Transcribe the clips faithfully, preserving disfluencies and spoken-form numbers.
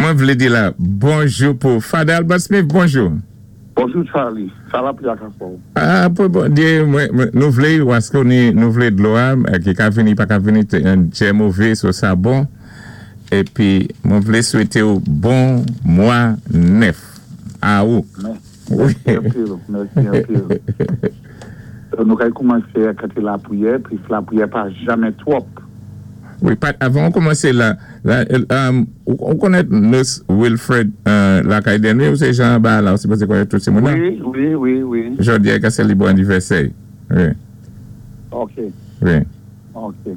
Mwen vlé di la bonjou pou Father Albert Smith, bonjou. Bonjou Charlie, sa va pi akafò. Ah, pou Bondyé, nou vlé, wasko ni nou vlé dlo a, ki ka vini, pa ka vini, djè mové, so sa bon. Épi, mwen vlé swété ou bon mwa nèf. A ou. Mèsi anpil, mèsi anpil. Nou kay koumansé a kanté lapriyè, pi lapriyè pa janmen twòp. Wi, pat, avan ou koumansé la, la, um, ou konnèt Nurse Wilfred uh, lakay Denry ou sé jan ba la, ou sipozé konnèt tout sé moun nan? Wi, wi, wi, wi. Jòdi a ka sé li bon anivèsè. Wi. Ok. Wi. Ok.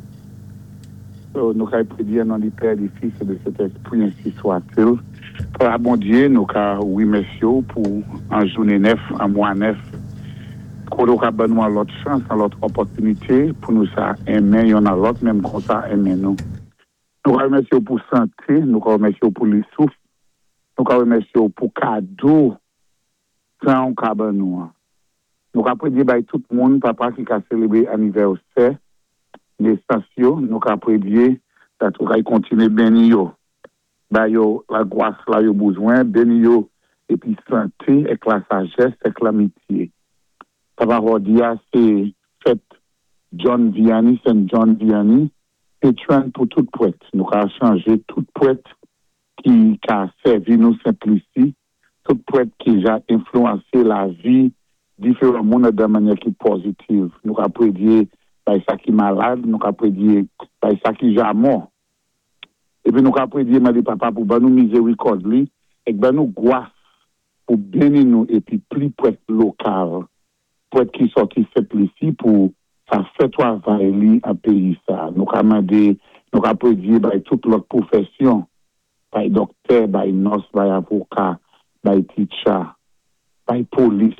So, nou kay prédyé nan non di Pè, di Fis, é di Sentèspwi, ainsi soit-il. Papa Bondyé, nou ka wimèsyé ou pou an jounen nèf, an mwa nèf. Koté ou ka ban nou an lòt chans, an lòt opòtinité pou nou sa enmen youn a lòt, menm konsa enmen nou. Nou ka wimèsyé ou pou santé, nou ka wimèsyé ou pou li souf, nou ka wimèsyé ou pou kado tan ou ka ban nou an. Nou ka prédyé bay tout moun, papa ki ka sélébré anivèsè, nesans yo, nou ka prédyé dat ou kay kontiné béni yo. Ba yo la gwas la yo bezwen, béni yo épi santé, èk la sajès, èk lamitié. Papa jòdi a, sé fèt John Vianney, Saint John Vianney, patron pou tout pwèt. Nou ka chanjé tout pwèt ki ka sèvi nou Sent Lisi, tout pwèt ki ja enfluansé lavi diferan moun dan mannyè ki pozitiv. Nou ka prédyé bay sa ki malad, nou ka prédyé bay sa ki ja mò. Épi nou ka prédyé mandé papa pou ban nou mizérikòd li, èk ban nou gwas pou béni nou épi pli pwèt lokal, pwèt ki sòti Sent Lisi pou sa fè twavay li an péyi sa. Nou ka mandé, nou ka prédyé bay tout lòt pwofèsyon, bay dòktè, bay nurse, bay avoka, bay teacher, bay polis.